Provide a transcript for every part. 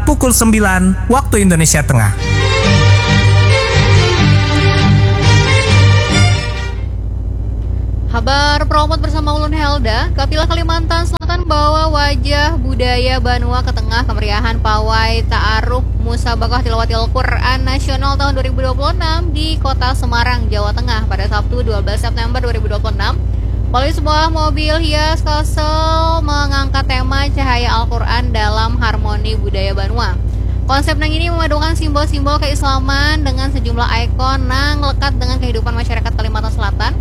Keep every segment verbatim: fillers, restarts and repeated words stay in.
pukul sembilan waktu Indonesia Tengah. Habar Promot bersama ulun Helda. Kapilah Kalimantan Selatan bawa wajah budaya banua ke tengah kemeriahan pawai ta'aruf Musabakah Tilawatil Quran Nasional tahun dua ribu dua puluh enam di Kota Semarang, Jawa Tengah pada Sabtu dua belas September dua ribu dua puluh enam. Melalui sebuah mobil hias, Kalsel mengangkat tema cahaya Al-Quran dalam harmoni budaya banua. Konsep nang ini memadukan simbol-simbol keislaman dengan sejumlah ikon nang lekat dengan kehidupan masyarakat Kalimantan Selatan.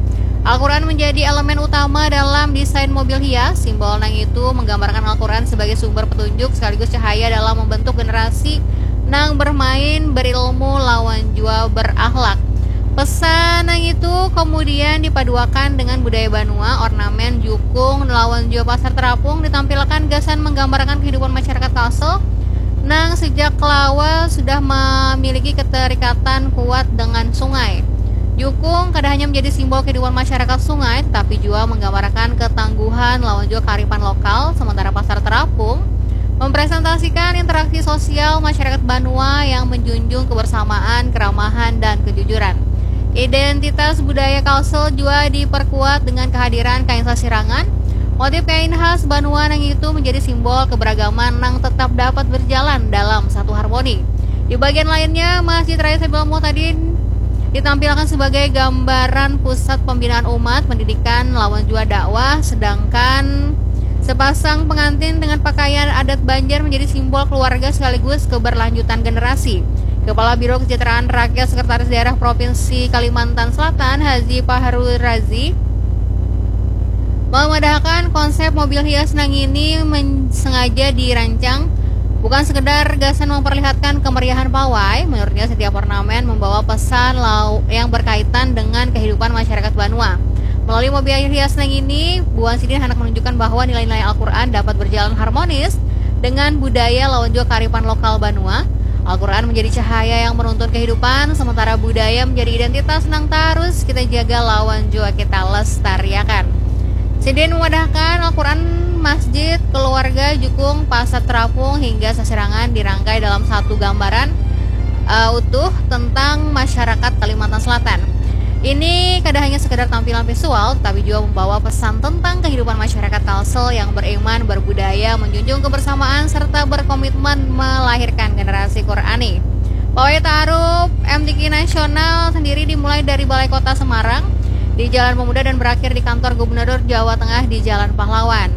Al-Quran menjadi elemen utama dalam desain mobil hias. Simbol nang itu menggambarkan Al-Quran sebagai sumber petunjuk sekaligus cahaya dalam membentuk generasi nang bermain, berilmu, lawan jua berakhlak. Pesan nang itu kemudian dipaduakan dengan budaya banua, ornamen, jukung, lawan jua pasar terapung ditampilkan gasan menggambarkan kehidupan masyarakat Kalsel nang sejak lawas sudah memiliki keterikatan kuat dengan sungai. Jukung kada hanya menjadi simbol kehidupan masyarakat sungai, tetapi jua menggambarkan ketangguhan lawan jua kearifan lokal, sementara pasar terapung mempresentasikan interaksi sosial masyarakat banua yang menjunjung kebersamaan, keramahan, dan kejujuran. Identitas budaya Kalsel jua diperkuat dengan kehadiran kain sasirangan. Motif kain khas banua nang itu menjadi simbol keberagaman nang tetap dapat berjalan dalam satu harmoni. Di bagian lainnya, Masjid Raya Sabilal Muhtadin ditampilkan sebagai gambaran pusat pembinaan umat, pendidikan, lawan jua dakwah, sedangkan sepasang pengantin dengan pakaian adat Banjar menjadi simbol keluarga sekaligus keberlanjutan generasi. Kepala Biro Kesejahteraan Rakyat Sekretaris Daerah Provinsi Kalimantan Selatan, Haji Fahru Razi, memadahkan konsep mobil hias nang ini men- sengaja dirancang bukan sekedar gasan memperlihatkan kemeriahan pawai. Menurutnya, setiap ornamen membawa pesan lau- yang berkaitan dengan kehidupan masyarakat banua. Melalui mobil hias nang ini, buan sidin hendak menunjukkan bahwa nilai-nilai Al-Quran dapat berjalan harmonis dengan budaya lawan jua kearifan lokal banua. Al-Quran menjadi cahaya yang menuntun kehidupan, sementara budaya menjadi identitas nang tarus kita jaga lawan jua kita lestariakan. Sidin memadahkan Al-Quran, masjid, keluarga, jukung, pasar terapung, hingga sasirangan dirangkai dalam satu gambaran uh, utuh tentang masyarakat Kalimantan Selatan. Ini kada hanya sekedar tampilan visual, tetapi juga membawa pesan tentang kehidupan masyarakat Kalsel yang beriman, berbudaya, menjunjung kebersamaan, serta berkomitmen melahirkan generasi Qurani. Pawai Ta'aruf M T Q Nasional sendiri dimulai dari Balai Kota Semarang di Jalan Pemuda dan berakhir di kantor Gubernur Jawa Tengah di Jalan Pahlawan.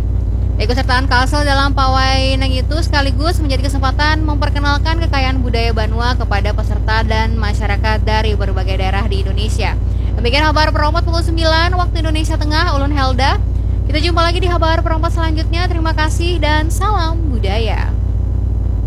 Keikutsertaan Kalsel dalam pawai nang itu sekaligus menjadi kesempatan memperkenalkan kekayaan budaya banua kepada peserta dan masyarakat dari berbagai daerah di Indonesia. Demikian habar Promot pukul sembilan waktu Indonesia Tengah, ulun Helda. Kita jumpa lagi di habar Promot selanjutnya. Terima kasih dan salam budaya.